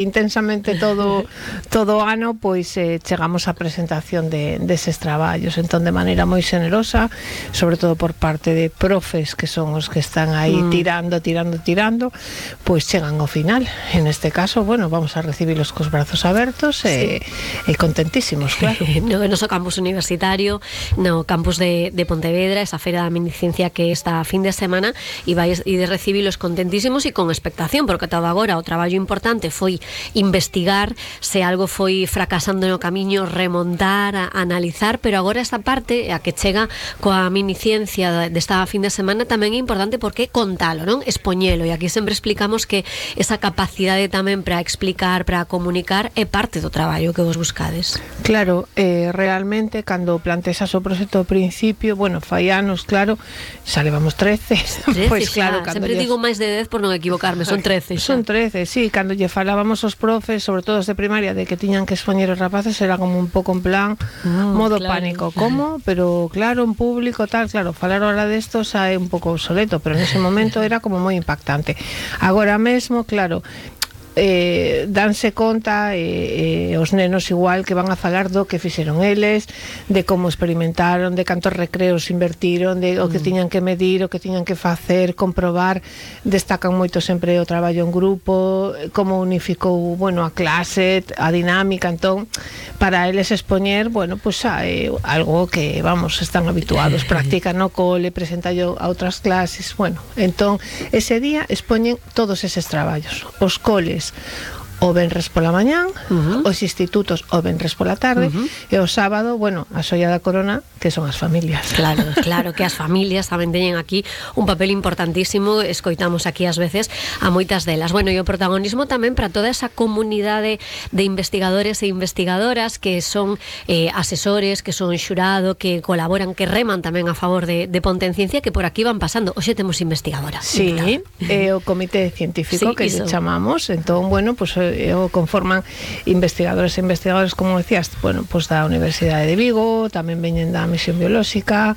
intensamente todo ano, pois chegamos á presentación deses traballos, entón de maneira moi xenerosa, sobre todo por parte de profes que son os que están aí tirando, pois chegan ao final. En este caso, bueno, vamos a recibilos cos brazos abertos e contentísimos, claro. No noso campus universitario, no campus de Pontevedra, esa feira da miniciencia que está a fin de semana, e vais de recibilos contentísimos e con expectación, porque todo agora o traballo importante foi investigar se algo foi fracasando no camiño, remontar, analizar, pero agora esta parte a que chega coa miniciencia desta fin de semana tamén é importante porque contalo, non? Expoñelo, e aquí sempre explicamos que esa capacidade tamén para explicar, para comunicar é parte do traballo que vos buscades. Claro, realmente cando plantexas o proxecto ao principio, bueno, fai anos, claro, xa levamos 13, pois claro, sempre digo máis de 10 por non equivocarme, son 13 xa. Son 13, sí, cando lle falábamos os profes, sobre todo os de primaria, de que tiñan que expoñer os rapaces, era como un pouco en plan modo claro. Pánico, como? Pero claro, en público, tal, claro, falar ahora desto xa é un pouco obsoleto, pero nese momento era como moi impactante. Agora mesmo, claro, danse conta os nenos igual que van a falar do que fixeron eles, de como experimentaron, de cantos recreos invertiron, de o que tiñan que medir, o que tiñan que facer, comprobar. Destacan moito sempre o traballo en grupo, como unificou, bueno, a clase, a dinámica. Entón, para eles expoñer, bueno, pues é algo que, vamos, están habituados, practican no cole, presentallo a outras clases, bueno, entón ese día expoñen todos eses traballos. Os coles o venres pola mañán, os institutos o venres pola tarde, e o sábado, bueno, a xoia da corona, que son as familias. Claro que as familias tamén teñen aquí un papel importantísimo, escoitamos aquí ás veces a moitas delas. Bueno, e o protagonismo tamén para toda esa comunidade de investigadores e investigadoras que son asesores, que son xurado, que colaboran, que reman tamén a favor de Ponte en Ciencia, que por aquí van pasando. Hoxe temos investigadoras. Sí, o comité científico, que lle chamamos. Entón, bueno, pues o conforman investigadores e investigadores, como decías, bueno, pues da Universidade de Vigo, tamén veñen da Misión Biolóxica,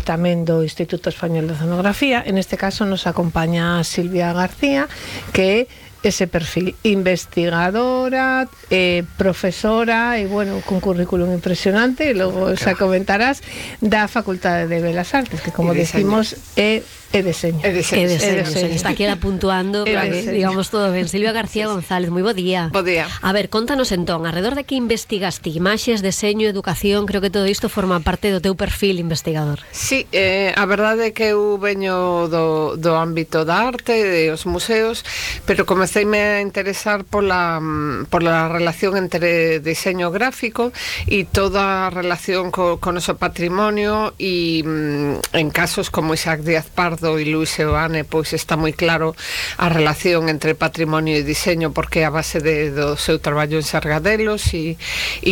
tamén do Instituto Español de Oceanografía. En este caso nos acompaña Silvia García, que ese perfil, investigadora, profesora, e bueno, con currículum impresionante, e logo xa comentarás, da Facultade de Belas Artes, que como decimos é deseño. Está aquí puntuando para que digamos todo ben. Silvia García González, moi bo día. Bo día. A ver, contanos entón, alrededor de que investigaste? Imaxes, deseño, educación, creo que todo isto forma parte do teu perfil investigador. Sí, a verdade é que eu veño do ámbito da arte, dos museos, pero comeceime a interesar pola relación entre diseño gráfico e toda a relación co noso patrimonio, e en casos como Isaac Díaz Pardo e Luis Seoane, pois está moi claro a relación entre patrimonio e diseño, porque é a base do seu traballo en Sargadelos e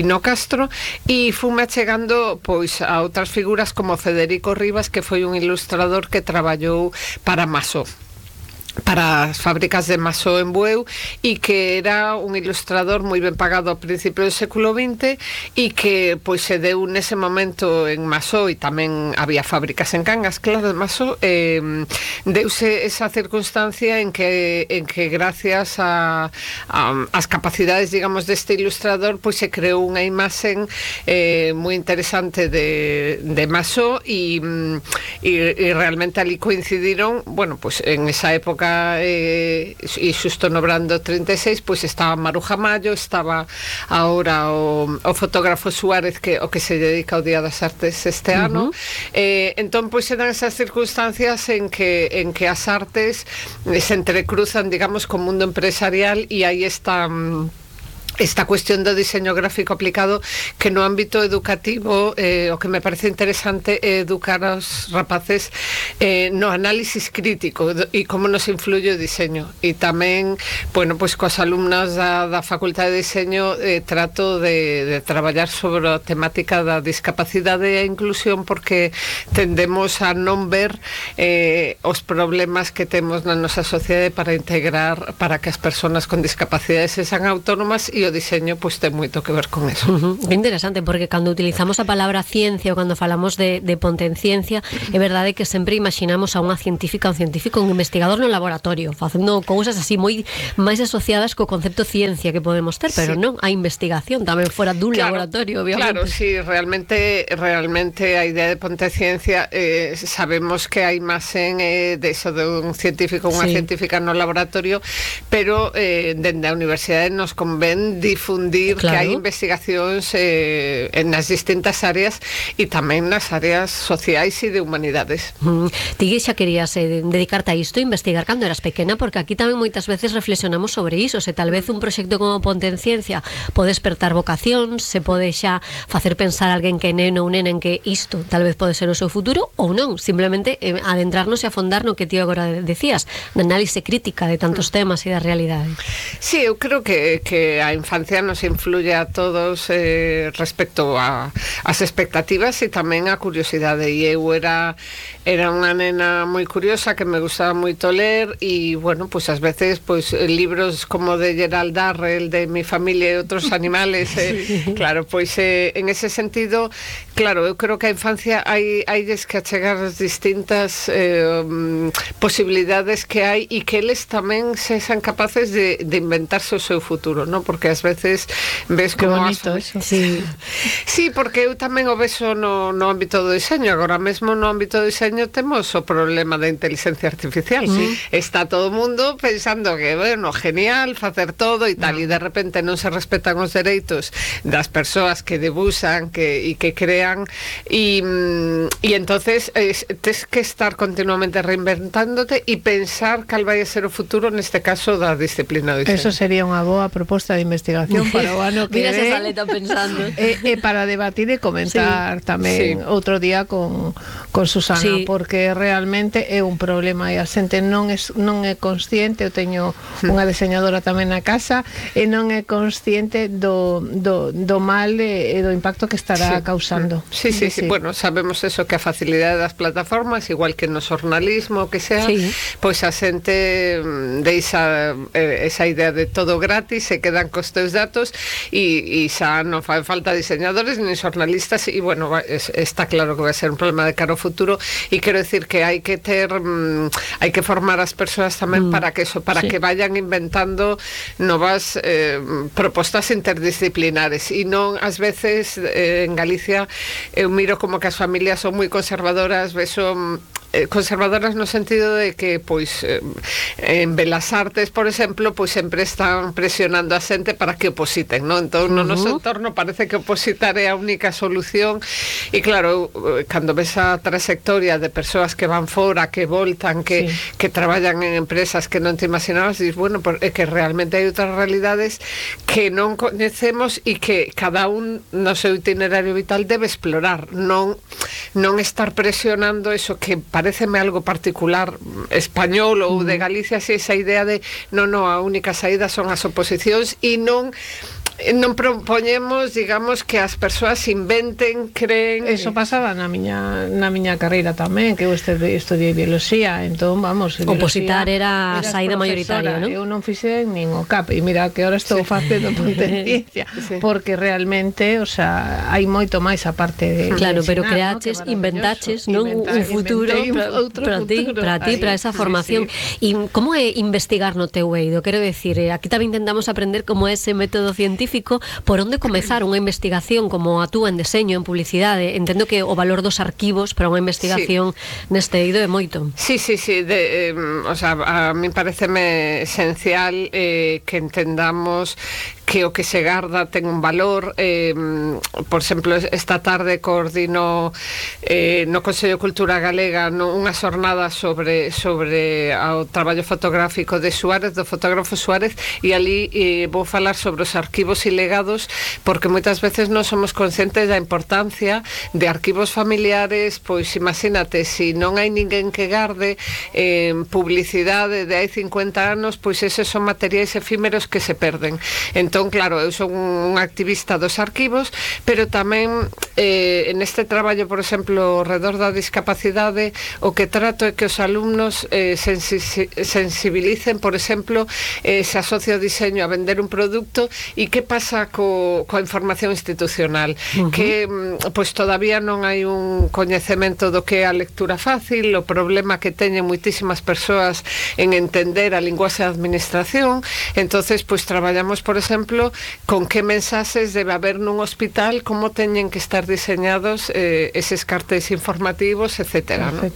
no Castro, e fume achegando pois a outras figuras como Federico Rivas, que foi un ilustrador que traballou para Masó, para as fábricas de Masó en Bueu, e que era un ilustrador moi ben pagado ao principio do século XX, e que pois se deu nese momento en Masó, e tamén había fábricas en Cangas, claro, de Masó, deuse esa circunstancia en que gracias as capacidades, digamos, deste ilustrador, pois se creou unha imaxen moi interesante de Masó, e realmente ali coincidiron, bueno, pois en esa época e xusto no Brando 36 pois estaba Maruja Mayo, estaba ahora o fotógrafo Suárez, que o que se dedica ao Día das Artes este ano. Entón pois eran esas circunstancias en que as artes se entrecruzan, digamos, co mundo empresarial, e aí está esta cuestión do diseño gráfico aplicado, que no ámbito educativo o que me parece interesante é educar aos rapaces no análisis crítico e como nos influye o diseño. E tamén, bueno, pois coas alumnas da Facultade de Diseño trato de traballar sobre a temática da discapacidade e a inclusión, porque tendemos a non ver os problemas que temos na nosa sociedade para integrar, para que as persoas con discapacidade sexan autónomas, e o o diseño pois ten moito que ver con eso. Que interesante, porque cando utilizamos a palabra ciencia ou cando falamos de ponte en ciencia, é verdade que sempre imaginamos a unha científica, un científico, un investigador no laboratorio, facendo cousas así moi máis asociadas co concepto ciencia que podemos ter, pero non, a investigación tamén fora dun laboratorio, obviamente. Claro, sí, realmente a idea de ponte ciencia, sabemos que hai máis de eso de un científico, unha científica no laboratorio, pero dende a universidade nos convén difundir que hai investigacións nas distintas áreas e tamén nas áreas sociais e de humanidades. Ti xa querías dedicarte a isto, investigar cando eras pequena, porque aquí tamén moitas veces reflexionamos sobre iso, se tal vez un proxecto como Ponte en Ciencia pode despertar vocacións, se pode xa facer pensar a alguén que é neno ou nena en que isto tal vez pode ser o seu futuro ou non, simplemente adentrarnos e afondar no que ti agora decías, na análise crítica de tantos temas e da realidade. Sí, eu creo que a infancia nos influye a todos respecto ás expectativas e tamén a curiosidade, e eu era unha nena moi curiosa que me gustaba moito ler e, bueno, pois ás veces pois libros como de Gerald Darrell, de Mi familia e outros animales, claro, pois en ese sentido, claro, eu creo que a infancia hai que achegar as distintas posibilidades que hai e que eles tamén sexan capaces de inventarse o seu futuro, non? Porque ás veces ves como bonito eso. Sí, porque eu tamén o veso no ámbito do diseño. Agora mesmo no ámbito do diseño temos o problema da inteligencia artificial. Está todo o mundo pensando que, bueno, genial facer todo e tal, e de repente non se respetan os dereitos das persoas que debuxan e que crean, e entonces tes que estar continuamente reinventándote e pensar cal vai a ser o futuro, neste caso da disciplina do diseño. Eso sería unha boa proposta de investigación para o ano que Mira esa saleta pensando. E para debatir e comentar tamén outro día con Susana, porque realmente é un problema e a xente non é consciente. Eu teño unha diseñadora tamén na casa e non é consciente do mal e do impacto que estará causando. Sí. Bueno, sabemos eso, que a facilidade das plataformas, igual que no xornalismo, que sea, pois a xente deixa esa idea de todo gratis, se quedan cos teus datos e xa non fai falta diseñadores ni xornalistas, e bueno, está claro que vai ser un problema de cara ao futuro, e quero decir que hai que formar as persoas tamén para que vayan inventando novas propostas interdisciplinares, e non, ás veces en Galicia eu miro como que as familias son moi conservadoras, conservadoras no sentido de que pois en Belas Artes, por exemplo, pois sempre están presionando a xente para que opositen, non? Entón, no noso entorno parece que opositar é a única solución, e claro, cando ves a trayectoria de persoas que van fora, que voltan, que traballan en empresas que non te imaginabas, dices, bueno, é que realmente hai outras realidades que non coñecemos e que cada un no seu itinerario vital debe explorar, non estar presionando eso que pareceme algo particular español ou de Galicia, así, esa idea de a única saída son as oposicións, e non propoñemos, digamos, que as persoas inventen, creen. Eso pasaba na miña carreira tamén, que eu estudiei biología, entón, vamos, opositar era a saída mayoritaria, non? Eu non fixen nin o CAP, e mira que ahora estou facendo ponte en ciencia, porque realmente, o sea, hai moito máis a parte de claro, pero creaches, inventaches, non? Un futuro para ti, para esa formación. E como é investigar no teu eido? Quero decir, aquí tamén intentamos aprender como é ese método científico, por onde comezar unha investigación como a túa en deseño, en publicidade. Entendo que o valor dos arquivos para unha investigación neste eido é moito. Sí, o sea, a mí pareceme esencial que entendamos que o que se garda ten un valor. Por exemplo, esta tarde coordino no Consello de Cultura Galega unha xornada sobre o traballo fotográfico de Suárez, do fotógrafo Suárez, e ali vou falar sobre os arquivos e legados, porque moitas veces non somos conscientes da importancia de arquivos familiares. Pois imagínate, se non hai ninguén que garde publicidade de hai 50 anos, pois eses son materiais efímeros que se perden. Entón, claro, eu son un activista dos arquivos, pero tamén neste traballo, por exemplo, ao redor da discapacidade, o que trato é que os alumnos sensibilicen, por exemplo, se asocia o diseño a vender un produto, e que que pasa coa información institucional, que pois todavía non hai un coñecemento do que é a lectura fácil, o problema que teñen moitísimas persoas en entender a linguaxe da administración. Entonces, pois traballamos, por exemplo, con que mensaxes debe haber nun hospital, como teñen que estar diseñados eses cartéis informativos, etcétera, ¿no?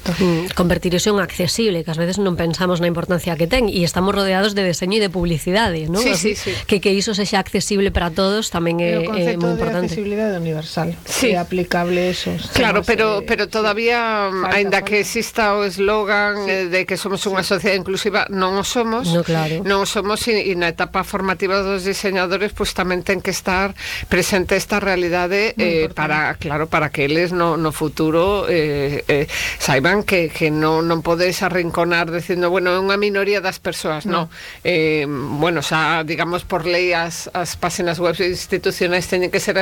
Convertir iso en accesible, que ás veces non pensamos na importancia que ten, e estamos rodeados de deseño e de publicidade, ¿no? Sí, Así, sí. Que iso sexa accesible para todos tamén é moi importante. O concepto de accesibilidade universal, sí, é aplicable eso. Claro, pero todavía, aínda que exista o eslogan de que somos unha sociedade inclusiva, non o somos. No, claro. Non o somos, e na etapa formativa dos diseñadores pois tamén ten que estar presente esta realidade para que eles no futuro saiban que non podes arrinconar dicindo, bueno, é unha minoría das persoas, non. Bueno, xa, digamos, por lei as páxinas web institucionais teñen que ser